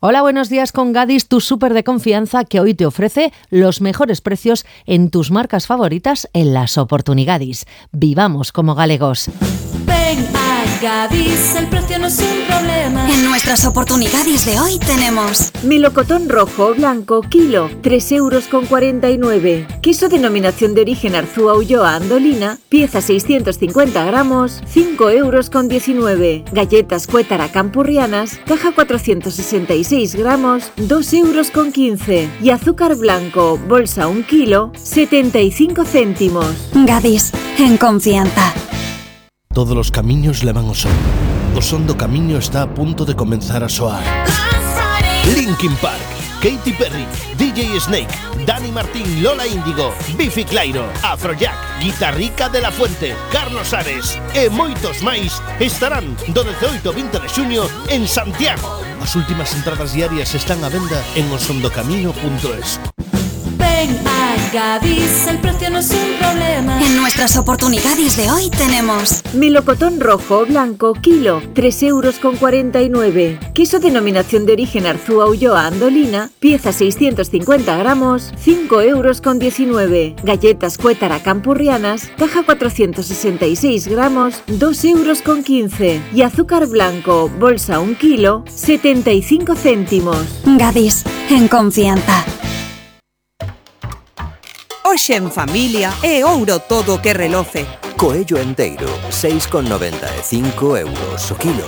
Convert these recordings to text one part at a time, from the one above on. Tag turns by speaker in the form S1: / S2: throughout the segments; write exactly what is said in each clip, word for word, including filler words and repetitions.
S1: Hola, buenos días con Gadis, tu súper de confianza que hoy te ofrece los mejores precios en tus marcas favoritas en las Oportunigadis. Vivamos como galegos.
S2: Ven a Gadis, el precio no es un problema.
S3: En nuestras Oportunigadis de hoy tenemos
S4: melocotón rojo o blanco, kilo, tres euros con cuarenta y nueve. Queso denominación de origen Arzúa Ulloa Andolina, pieza seiscientos cincuenta gramos, cinco euros con diecinueve. Galletas Cuétara Campurrianas, caja cuatrocientos sesenta y seis gramos, dos euros con quince. Y azúcar blanco, bolsa un kilo, setenta y cinco céntimos.
S3: Gadis, en confianza.
S5: Todos os camiños levan ao son. O son do camiño está a punto de comenzar a soar. Linkin Park, Katy Perry, D J Snake, Dani Martín, Lola Índigo, Bifi Clyro, Afrojack, Guitarrica de la Fuente, Carlos Ares e moitos máis estarán do dezooito ao vinte de xuño en Santiago. As últimas entradas diarias están á venda en osondocamino punto es.
S2: Ven a Gadis, el precio no es un problema.
S3: En nuestras Oportunigadis de hoy tenemos
S4: melocotón rojo o blanco, kilo, tres euros con cuarenta y nueve. Queso denominación de origen Arzúa Ulloa Andolina, pieza seiscientos cincuenta gramos, cinco euros con diecinueve. Galletas Cuétara Campurrianas, caja cuatrocientos sesenta y seis gramos, dos euros con quince. Y azúcar blanco, bolsa un kilo, setenta y cinco céntimos.
S3: Gadis, en confianza.
S6: Hoxe en familia é ouro todo que reloce.
S7: Coello enteiro, seis con noventa e cinco euros o kilo.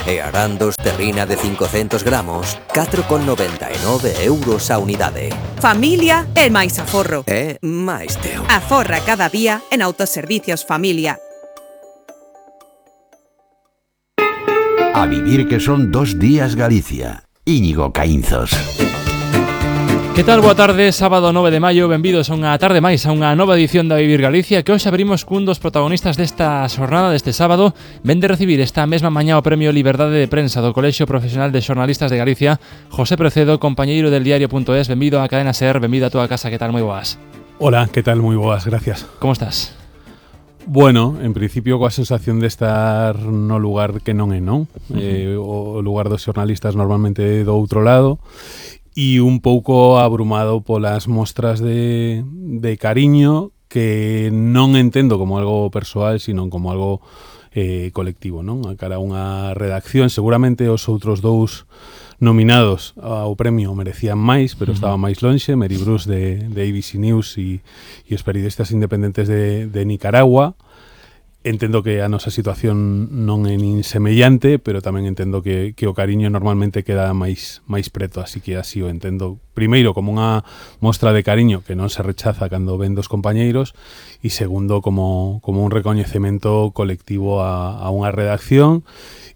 S7: E arandos terrina de cincocentos gramos, catro con noventa e nove euros a unidade.
S6: Familia é máis aforro.
S7: É máis teo.
S6: Aforra cada día en Autoservicios Familia.
S8: A vivir que son dos días Galicia. Íñigo Caínzos.
S9: Que tal? Boa tarde, sábado nove de maio, benvidos a unha tarde máis, a unha nova edición da Vivir Galicia, que hoxe abrimos cun dos protagonistas desta xornada deste sábado. Ven de recibir esta mesma mañá o Premio Liberdade de Prensa do Colexio Profesional de Xornalistas de Galicia, José Precedo, compañeiro del diario punto es. Benvido á cadena SER, benvido a túa casa, que tal? Moi boas.
S10: Hola, que tal? Moi boas, gracias.
S9: Como estás?
S10: Bueno, en principio coa sensación de estar no lugar que non é, non? Uh-huh. Eh, o lugar dos xornalistas normalmente do outro lado, e un pouco abrumado polas mostras de, de cariño que non entendo como algo persoal, sino como algo eh, colectivo, non? A cara a unha redacción, seguramente os outros dous nominados ao premio merecían máis, pero uh-huh. estaba máis lonxe, Mary Bruce de, de A B C News e, e os periodistas independentes de, de Nicaragua. Entendo que a nosa situación non é nin semellante, pero tamén entendo que, que o cariño normalmente queda máis máis preto, así que así o entendo. Primeiro, como unha mostra de cariño que non se rechaza cando ven dos compañeiros, e segundo, como, como un recoñecemento colectivo a, a unha redacción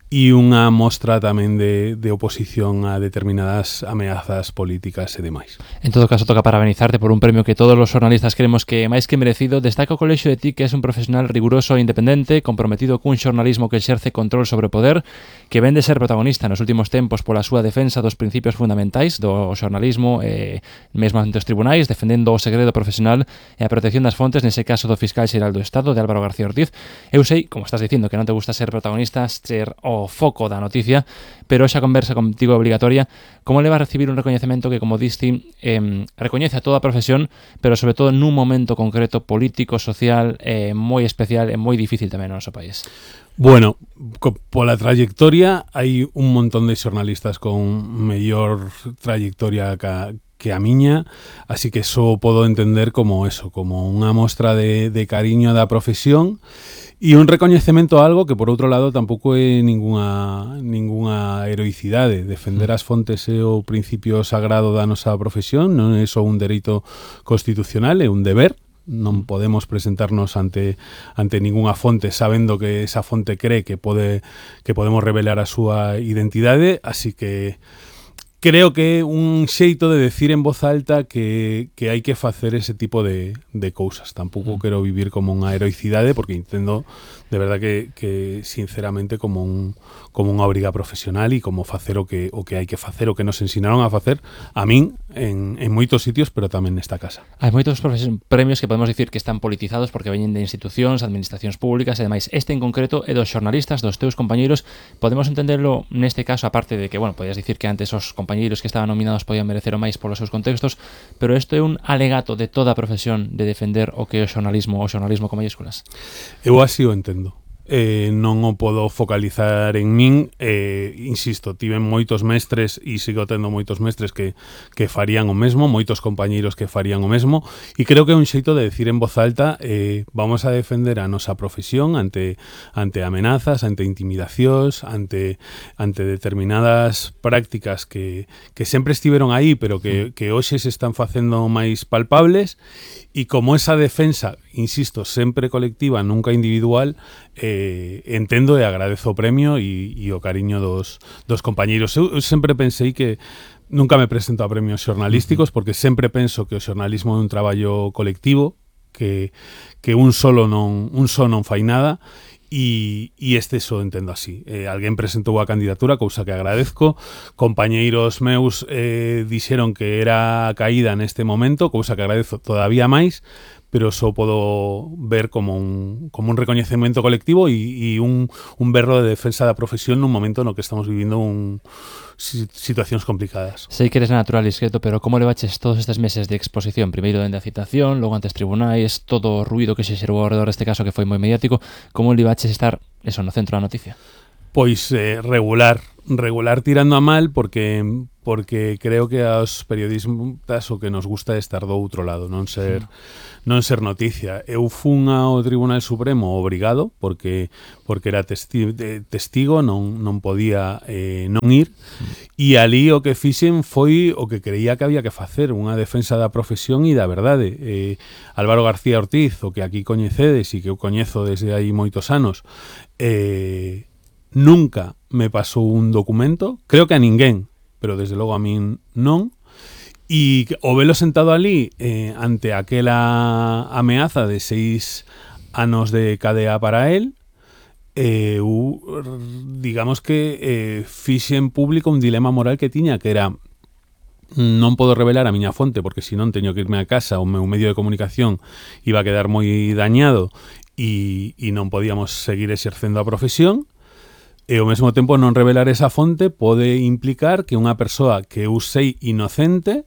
S10: e unha mostra tamén de, de oposición a determinadas ameazas políticas e demais.
S9: En todo caso, toca parabenizarte por un premio que todos os xornalistas creemos que máis que merecido. Destaca o colexio de ti que és un profesional riguroso e independente, comprometido cun xornalismo que exerce control sobre o poder, que ven de ser protagonista nos últimos tempos pola súa defensa dos principios fundamentais do xornalismo, eh, mesmo ante os tribunais, defendendo o segredo profesional e a protección das fontes, nese caso do fiscal xeral do Estado, de Álvaro García Ortiz. Eu sei, como estás dicindo, que non te gusta ser protagonista, ser o foco da noticia, pero esa conversa contigo é obligatoria. Como le vas a recibir un recoñecemento que, como diste, eh, recoñece a toda a profesión, pero sobre todo nun momento concreto político, social, eh, moi especial e moi difícil tamén no noso país?
S10: Bueno, co, pola trayectoria hai un montón de xornalistas con mellor trayectoria que, que a miña, así que eso podo entender como eso, como unha mostra de, de cariño da profesión e un recoñecemento a algo que, por outro lado, tampouco é ningunha, ningunha heroicidade. Defender as fontes é o principio sagrado da nosa profesión, non é só un dereito constitucional, é un deber. Non podemos presentarnos ante ante ningunha fonte sabendo que esa fonte cree que pode que podemos revelar a súa identidade, así que creo que é un xeito de decir en voz alta que, que hai que facer ese tipo de, de cousas. Tampouco mm. quero vivir como unha heroicidade, porque entendo de verdad que, que sinceramente como un como unha obriga profesional e como facer o que o que hai que facer, o que nos ensinaron a facer a min en, en moitos sitios, pero tamén nesta casa.
S9: Hai moitos premios que podemos dicir que están politizados porque veñen de institucións, administracións públicas e demais. Este en concreto é dos xornalistas, dos teus compañeiros. Podemos entenderlo neste caso, aparte de que, bueno, podías dicir que antes os compañeiros que estaban nominados podían merecer o máis polos seus contextos, pero isto é un alegato de toda a profesión de defender o que é o xornalismo, o xornalismo con mayúsculas.
S10: Eu así o entendo. Eh, non o podo focalizar en min, eh, insisto, tiven moitos mestres e sigo tendo moitos mestres que, que farían o mesmo, moitos compañeiros que farían o mesmo, e creo que é un xeito de decir en voz alta eh, vamos a defender a nosa profesión ante, ante amenazas, ante intimidacións, ante, ante determinadas prácticas que, que sempre estiveron aí, pero que, que hoxe se están facendo máis palpables, e como esa defensa, insisto, sempre colectiva, nunca individual, eh, entendo e agradezo o premio e, e o cariño dos, dos compañeiros. Eu, eu sempre pensei que nunca me presento a premios xornalísticos porque sempre penso que o xornalismo é un traballo colectivo, que, que un solo non un só non fai nada. E, e este só entendo así. Eh, alguén presentou a candidatura, cousa que agradezco. Compañeiros meus eh, dixeron que era a caída neste momento, cousa que agradezo todavía máis, pero só podo ver como un, como un recoñecemento colectivo e, e un, un berro de defensa da profesión nun momento no que estamos vivindo un, situacións complicadas.
S9: Sei que eres natural e discreto, pero como levaches todos estes meses de exposición? Primeiro dende a citación, logo antes tribunais, todo o ruido que se xerou ao redor deste caso que foi moi mediático, como levaches estar eso no centro da noticia?
S10: Pois eh, regular, regular tirando a mal porque porque creo que aos periodistas o que nos gusta é estar do outro lado, non ser sí. non ser noticia. Eu fun ao Tribunal Supremo obrigado porque porque era testi testigo, non non podía eh, non ir e ali o que fixen foi o que creía que había que facer, unha defensa da profesión e da verdade. Eh, Álvaro García Ortiz, o que aquí coñecedes e que eu coñezo desde aí moitos anos, eh nunca me pasou un documento, creo que a ninguén, pero desde logo a min non, e o velo sentado ali eh, ante aquela ameaza de seis anos de cadea para él, eh, eu, digamos que eh, fixe en público un dilema moral que tiña, que era non podo revelar a miña fonte porque senón teño que irme a casa, o meu medio de comunicación iba a quedar moi dañado e, e non podíamos seguir exercendo a profesión. E ao mesmo tempo non revelar esa fonte pode implicar que unha persoa que eu sei inocente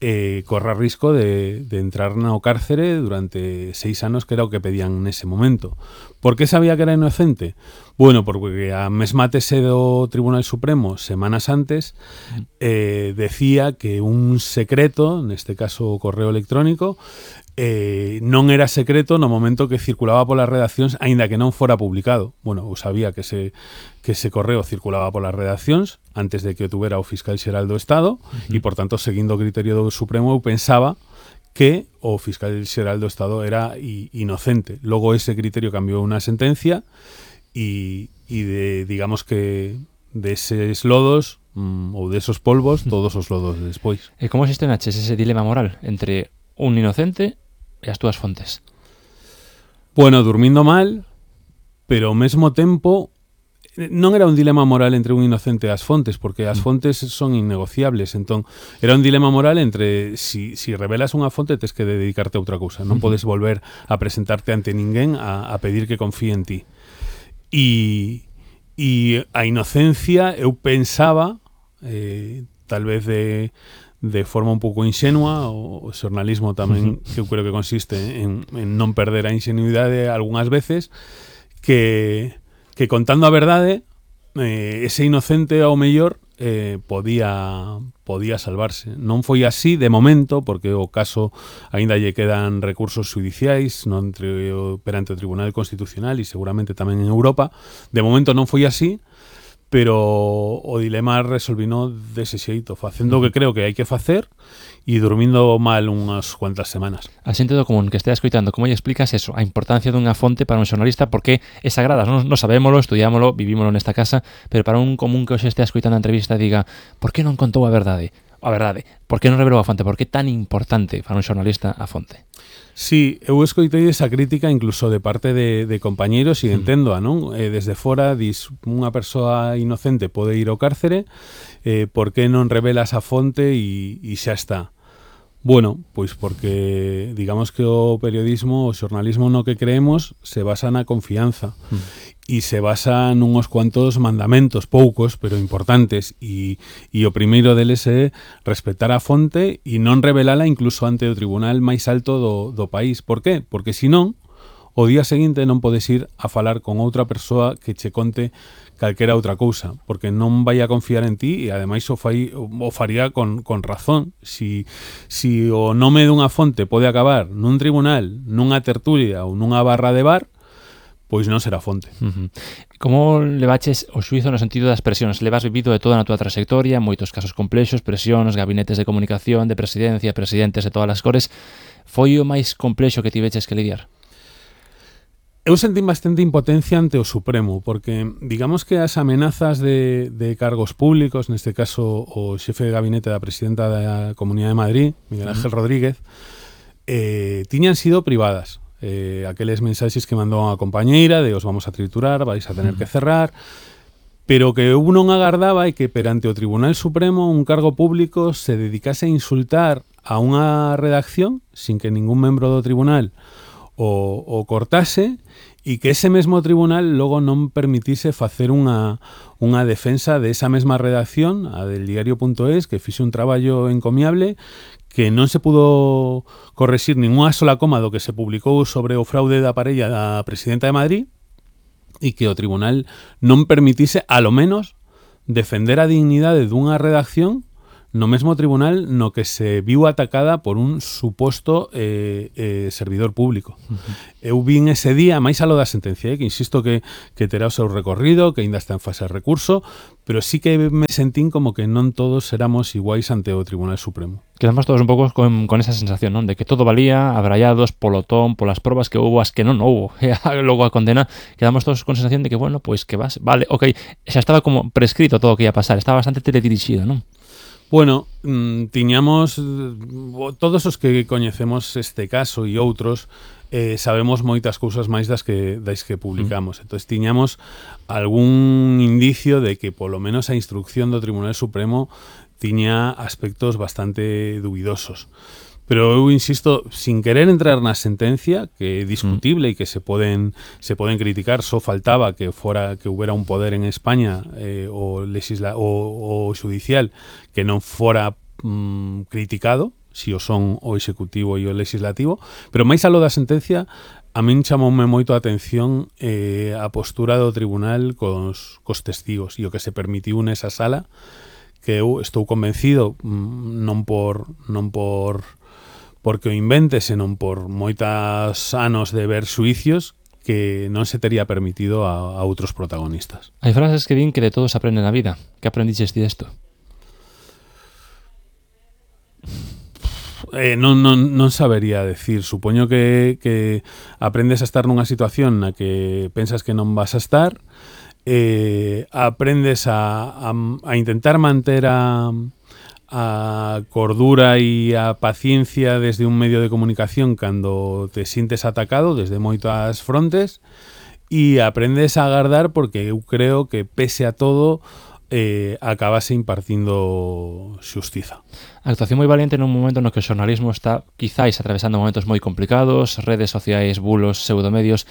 S10: eh, corra risco de, de entrar no cárcere durante seis anos, que era o que pedían nese momento. Por que sabía que era inocente? Bueno, porque a mesma tese do Tribunal Supremo semanas antes eh, decía que un secreto, neste caso o correo electrónico, Eh, non era secreto no momento que circulaba polas redaccións, aínda que non fora publicado. Bueno, eu sabía que ese, que ese correo circulaba polas redaccións antes de que o tuvera o fiscal xeral do Estado, uh-huh. e, por tanto, seguindo o criterio do Supremo, eu pensaba que o fiscal xeral do Estado era inocente. Logo ese criterio cambiou unha sentencia e, e de, digamos que deses lodos mm, ou desos polvos, todos os lodos despois.
S9: E como xestionaches ese dilema moral entre un inocente e as túas fontes?
S10: Bueno, durmindo mal, pero ao mesmo tempo non era un dilema moral entre un inocente e as fontes, porque as fontes son innegociables, entón era un dilema moral entre si, si revelas unha fonte tes que dedicarte a outra cousa, non podes volver a presentarte ante ninguén a, a pedir que confíe en ti. E, e a inocencia eu pensaba, eh, tal vez de de forma un pouco inxenua, o xornalismo tamén que eu creo que consiste en, en non perder a ingenuidade algunhas veces, que, que contando a verdade eh, ese inocente ao mellor eh, podía podía salvarse. Non foi así de momento, porque o caso aínda lle quedan recursos judiciais non entre, perante o Tribunal Constitucional e seguramente tamén en Europa. De momento non foi así, pero o dilema resolvino dese xeito, facendo o que creo que hai que facer e dormindo mal unhas cuantas semanas.
S9: A xente do común que estea escoitando, como lle explicas eso, a importancia dunha fonte para un xornalista, porque é sagrada, non, non sabémolo, estudiámolo, vivímolo nesta casa, pero para un común que hoxe estea escoitando a entrevista diga, por que non contou a verdade? A verdade, por que non revelou a fonte? Por que tan importante para un xornalista a fonte?
S10: Sí, eu escoitei esa crítica incluso de parte de, de compañeiros e entendo, non? Eh, desde fora, dis, unha persoa inocente pode ir ao cárcere, eh, por que non revelas a fonte e, e xa está? Bueno, pois porque digamos que o periodismo, o xornalismo no que creemos se basa na confianza mm. e se basa nunos cuantos mandamentos, poucos, pero importantes, e, e o primeiro deles é respetar a fonte e non revelala incluso ante o tribunal máis alto do, do país. Por qué? Porque senón, o día seguinte non podes ir a falar con outra persoa que che conte calquera outra cousa, porque non vai a confiar en ti e ademais o, fai, o faría con, con razón. Si, si o nome dunha fonte pode acabar nun tribunal, nunha tertulia ou nunha barra de bar, pois non será fonte.
S9: Uh-huh. Como levaches o xuizo no sentido das presións? Levas vivido de toda na túa trayectoria, moitos casos complexos, presións, gabinetes de comunicación, de presidencia, presidentes de todas as cores. Foi o máis complexo que tiveches que lidiar?
S10: Eu sentí bastante impotencia ante o Supremo, porque digamos que as amenazas de, de cargos públicos, neste caso o xefe de gabinete da presidenta da Comunidade de Madrid, Miguel Ángel uh-huh. Rodríguez, eh, tiñan sido privadas. Eh, aqueles mensaxes que mandou a compañeira de os vamos a triturar, vais a tener uh-huh. que cerrar, pero que eu non agardaba é que perante o Tribunal Supremo un cargo público se dedicase a insultar a unha redacción sin que ningún membro do tribunal o, o cortase e que ese mesmo tribunal logo non permitise facer unha, unha defensa de esa mesma redacción, a del diario punto es, que fixe un traballo encomiable, que non se pudo correxir ninguna sola coma do que se publicou sobre o fraude da parella da presidenta de Madrid e que o tribunal non permitise, a lo menos, defender a dignidade dunha redacción no mesmo tribunal no que se viu atacada por un suposto eh, eh, servidor público. Uh-huh. Eu vin ese día, máis alo da sentencia, eh, que insisto que, que terá o seu recorrido, que ainda está en fase de recurso, pero sí que me sentín como que non todos éramos iguais ante o Tribunal Supremo.
S9: Quedamos todos un pouco con, con esa sensación, non? De que todo valía, abrallados polo ton, polas probas que houbo, as que non houbo, e logo a condena, quedamos todos con sensación de que, bueno, pois que vas, vale, ok, xa estaba como prescrito todo o que ia pasar, estaba bastante teledirixido, non?
S10: Bueno, mmm, tiñamos todos os que coñecemos este caso e outros eh, sabemos moitas cousas máis das que das que publicamos. Mm. Entonces tiñamos algún indicio de que polo menos a instrucción do Tribunal Supremo tiña aspectos bastante dubidosos. Pero eu insisto, sin querer entrar na sentencia, que é discutible mm. e que se poden se poden criticar, só faltaba que fora que houbera un poder en España eh, o legisla o, o judicial que non fora mm, criticado, si o son o executivo e o legislativo, pero máis aló da sentencia, a min chamoume moito a atención eh, a postura do tribunal cos, cos testigos e o que se permitiu nesa sala, que eu estou convencido mm, non por non por porque o invente, senón por moitas anos de ver xuicios que non se tería permitido a, a outros protagonistas.
S9: Hai frases que din que de todo se aprende na vida. Que aprendiches ti desto?
S10: Eh, non, non, non sabería decir. Supoño que, que aprendes a estar nunha situación na que pensas que non vas a estar, eh, aprendes a, a, a intentar manter a... a cordura e a paciencia desde un medio de comunicación cando te sintes atacado desde moitas frontes e aprendes a agardar porque eu creo que pese a todo eh, acabase impartindo xustiza.
S9: A actuación moi valiente nun momento no que o xornalismo está quizáis atravesando momentos moi complicados, redes sociais, bulos, pseudomedios.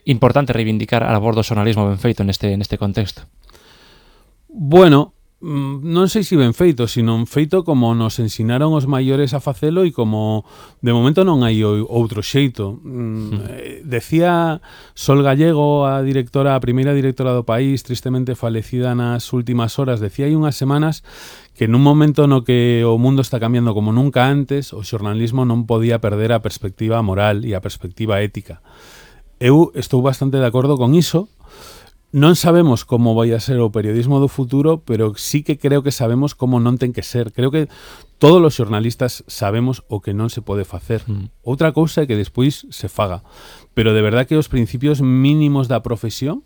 S9: Importante reivindicar a labor do xornalismo ben feito neste, neste contexto.
S10: Bueno, non sei se ben feito, sino feito como nos ensinaron os maiores a facelo e como de momento non hai outro xeito. Mm. Decía Sol Gallego, a directora, a primeira directora do país, tristemente falecida nas últimas horas, decía hai unhas semanas que nun momento no que o mundo está cambiando como nunca antes, o xornalismo non podía perder a perspectiva moral e a perspectiva ética. Eu estou bastante de acordo con iso. Non sabemos como vai a ser o periodismo do futuro, pero sí que creo que sabemos como non ten que ser. Creo que todos os xornalistas sabemos o que non se pode facer. Mm. Outra cousa é que despois se faga. Pero de verdad que os principios mínimos da profesión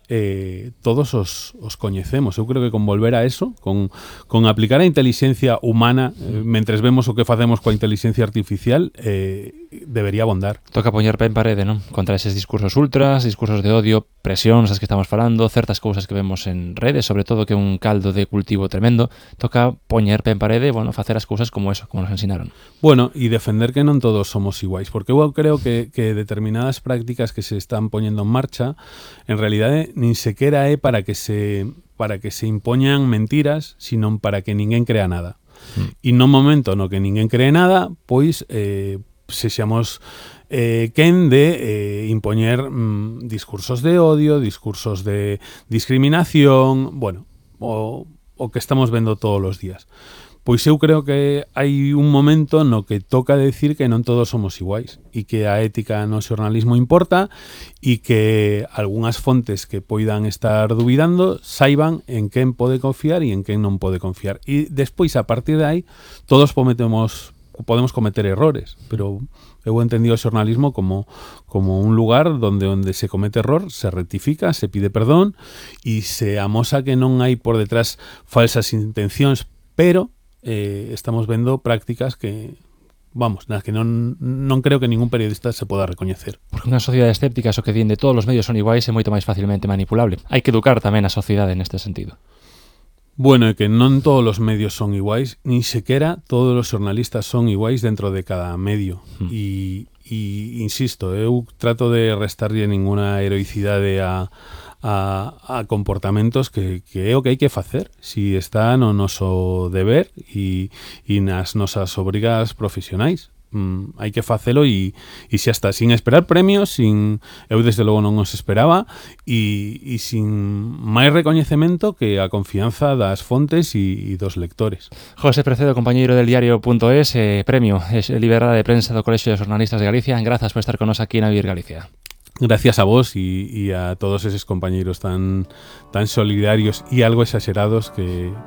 S10: eh, todos os, os coñecemos. Eu creo que con volver a eso, con, con aplicar a inteligencia humana, eh, mentres vemos o que facemos coa inteligencia artificial, eh, debería abondar.
S9: Toca poñer pé en parede, non? Contra eses discursos ultras, discursos de odio, presións as que estamos falando, certas cousas que vemos en redes, sobre todo que é un caldo de cultivo tremendo. Toca poñer pé en parede e, bueno, facer as cousas como eso, como nos ensinaron.
S10: Bueno, e defender que non todos somos iguais, porque eu creo que, que determinadas prácticas que se están poñendo en marcha, en realidade, nin sequera é para que se para que se impoñan mentiras, sino para que ninguén crea nada. Mm. E no momento no que ninguén cree nada, pois eh, sexamos eh, quen de eh, impoñer mm, discursos de odio, discursos de discriminación, bueno, o, o que estamos vendo todos os días. Pois eu creo que hai un momento no que toca decir que non todos somos iguais e que a ética no xornalismo importa e que algunhas fontes que poidan estar dubidando saiban en quen pode confiar e en quen non pode confiar. E despois, a partir de aí, todos cometemos, podemos cometer errores, pero eu entendí o xornalismo como, como un lugar donde onde se comete error, se rectifica, se pide perdón e se amosa que non hai por detrás falsas intencións, pero Eh, estamos vendo prácticas que, vamos, nas que non, non creo que ningún periodista se poda recoñecer.
S9: Porque unha sociedade escéptica, eso que din de todos os medios son iguais, é moito máis facilmente manipulable. Hai que educar tamén a sociedade neste sentido.
S10: Bueno, é que non todos os medios son iguais, nin sequera todos os xornalistas son iguais dentro de cada medio. Mm. E, e, insisto, eu trato de restarlle ninguna heroicidade a A, a comportamentos que, que é o que hai que facer si está no noso deber e, e nas nosas obrigas profesionais. Mm, hai que facelo e, e xa está, sin esperar premios, sin eu desde logo non os esperaba e, e sin máis recoñecemento que a confianza das fontes e, e dos lectores.
S9: José Precedo, compañeiro del diario punto es, eh, premio es liberada de prensa do Colexio de Xornalistas de Galicia. Grazas por estar con nos aquí na Vivir Galicia.
S10: Gracias a vos y, y a todos esos compañeros tan, tan solidarios y algo exagerados que,